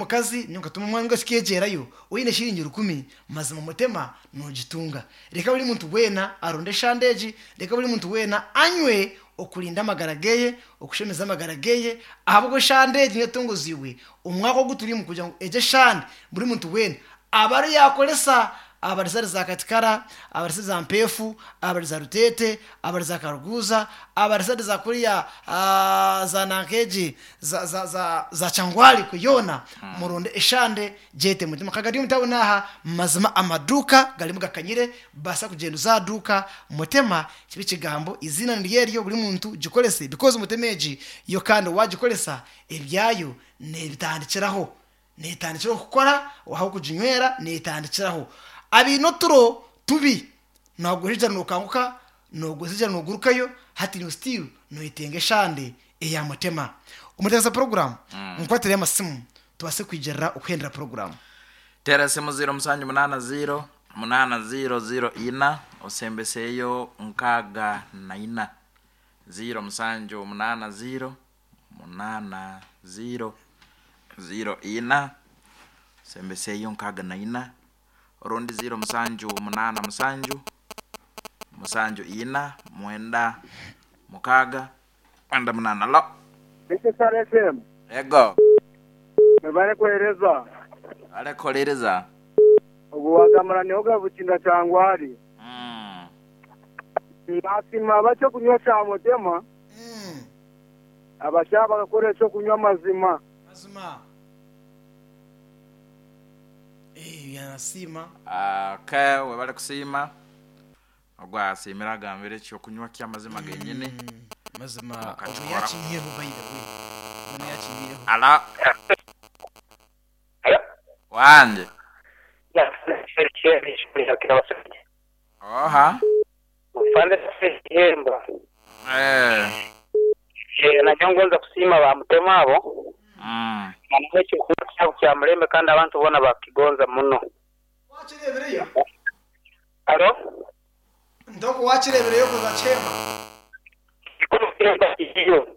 Omukazi nyowe nkatuma omwana ngu kikeegyerayo, oine shiringi rukumi mazima mutema nogitunga. Reka buri muntu weena aronde eshande egi, reka buri muntu weena anywe okurinda amagara geye, okushemeza amagara geye, ahabw'okuba eshande egi niyo etongoziibwe omwaka ogu turimu kugira ngu egyo eshande buri muntu weena abe ariyo yaakoresa abari zari za Katikara, abari za Mpeefu, abari za Ruteete, abari za Karuguuza, abari side za kuriya za nanka egi za za za za Kyangwali kwe yoona muronde eshande gyete mutima ka gari omu tawuni aha mazima amaduuka garimu gakanyire baasa kugyenda oze aha duuka mutema kibe ekigambo eiziina niryo eryo buri muntu gikorese because mutema egi yo kandi waagikoresa ebyayo neebitandikiraho. Neetandikiraho kukora, ahabw'okuginywera neetandikiraho. Abaine oturo tubi, nooguhijira nookanguka, nooguhijira noogurukayo, hati iwe still nooyetenga eshande eya mutema. Omutebeekanisa puroguraamu, nkwatireyo amasimu tubaase kwigirira okuhendera puroguraamu. Teera esimu ziiro musanju munaana ziiro munaana ziiro ziiro ina osembeseyo 64. Ziiro musanju munaana ziiro munaana ziiro ziiro ina osembeseyo 64 orundi ziiro musanju munaana musanju musanju ina mwenda mukaaga mwenda munaana. Alo. Star FM. Ego. Mwebale kuhereza. Webale kuhuliriza. Ogu wagamura niho Gabukinda Kyangwali. Nasiima ab'ekyokunywa kya Mutema. Abashaija bakakora eky'okunywa amazima. Mazima. Eh, yanasiima. Okay, webale kusiima. Ogwo asiimire agambire eky'okunywa ky'amazima genyini. Mazima ogwo Mukakikora. yakinyireho by the way. Ogwo nawe yakinyireho. Alo. Wanje. Oha. Eh. Nanyowe ngonza kusiima ba Mutema abo nangwa ekyokunywa kyabo kya mulembe kandi abantu boona bakigonza muno. Wakireebireyo? Halo? Ntoko wakireebireyo kuza kyema? Kikuru kyemba kiriyo.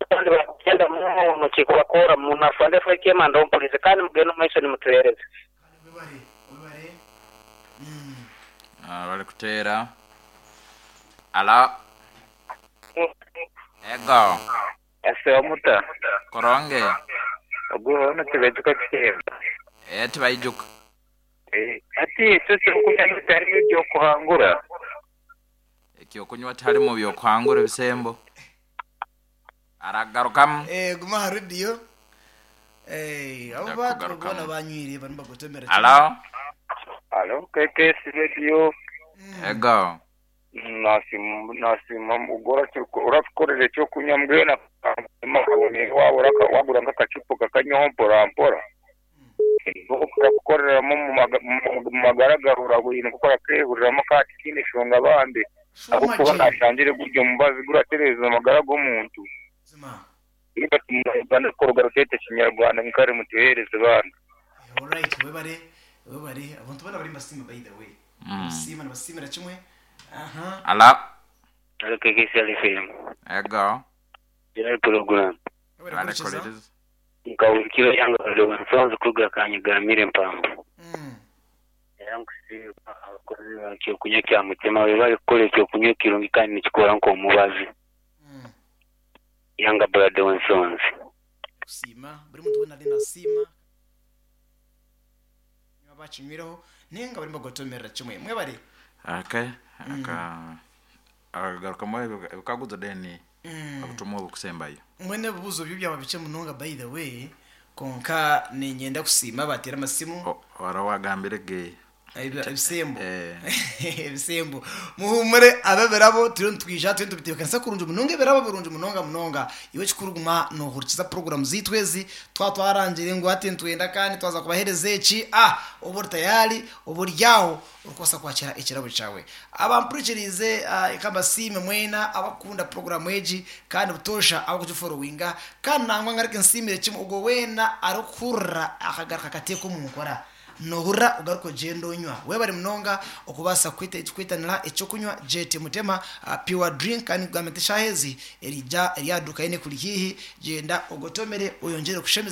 Kandi bakukyenda muno kikubakora muno afande Frank Kyema ndompulize kandi mugende omu maiso nimutuhereza. Webare, webare. Ah, bali kuteera. Alo. Ego. Ese omuta. Koronge. Ogu hoona tibaijuka kihemba. Eh, tibaijuka. Eh, hati ekyo ekyokunywa bitarimu eby'okuhangura. Ekyokunywa tiharimu by'okuhangura ebisembo. Aragarukamu. Eh, guma aha rediyo. Eh, abo Nja bantu kugarukamu. boona banywire barimu bagotomera kimwe. Alo. Alo, KKS Radio. Ego. Nasiima ogwo oratukorera ekyokunywa mbwenu waaba wagura nk'akacupa okakanywaho mpora mpora. Orakukoreramu omu magara gaawe oraine nk'oku orakeehuriramu kandi tihaine nshonga bambi. Shuuma Ahabw'okuba gye. naashangire guri omubazi guratereeza amagara g'omuntu. Mazima. Uganda kuruga ruteete kinyarwanda nkare mutuheereze bambi. Alright, webare, webare. Abantu boona bari nibasiima by the way. Nibasiima, nibasiimira kimwe. Aha. Alo. Alo KKCL FM. Ego. General program. Webare kuhurikiza. Balekoleriza. Nkahurikira eihanga rya Nsanzu kuruga Kanyigambire Mpamba. Era nkusiima abakozi ba Kyokunywa kya Mutima webale kukora ekyokunywa ekirungi kandi nikikora nk'omubazi. Ihanga Brother Wensonzi. Kusiima buri muntu weena ariyo nasiima abakinywireho ninga barimu bagotomerera kimwe. Mwebare. Okay. Aka akagarukamu ebikaguzo then obutumwa obukusembayo. Mbwenu ebibuuzo byo byaba bikye munonga by the way kwonka niinyenda kusiima abateire amasimu. Hariho owagambire ge Ebisembo. Ebisembo. Muhuumure ab'ebirabo turiyo nitwija turiyo nitubitebeekanisa kurungi munonga ebirabo birungi munonga munonga. Iwe ekikuru guma noohurikiza puroguraamu zaitu ezi. Twaba twarangire ngu hati nitwenda kandi twaza kubaheereza eki, ah obe ori tayari, obe ori aho orikubaasa kwakiira ekirabo kyawe. Abampurikiriize ka mbasiime mwena abakukunda puroguraamu egi kandi butoosha abarikugiforowinga. Kandi nangwa ngaruke nsiimire kimwe ogwo weena arikuhurira akagaruka akateeka omu nkora. Noohurira ogaruka ogyenda onywa. Webare munonga okubaasa kwitanira eky'okunywa JT Mutema Pure Drink kandi nikugamba nti eshaaha ezi erija eri aha duuka yoona ekuri haihi gyenda ogotomere oyongyere kushemeza.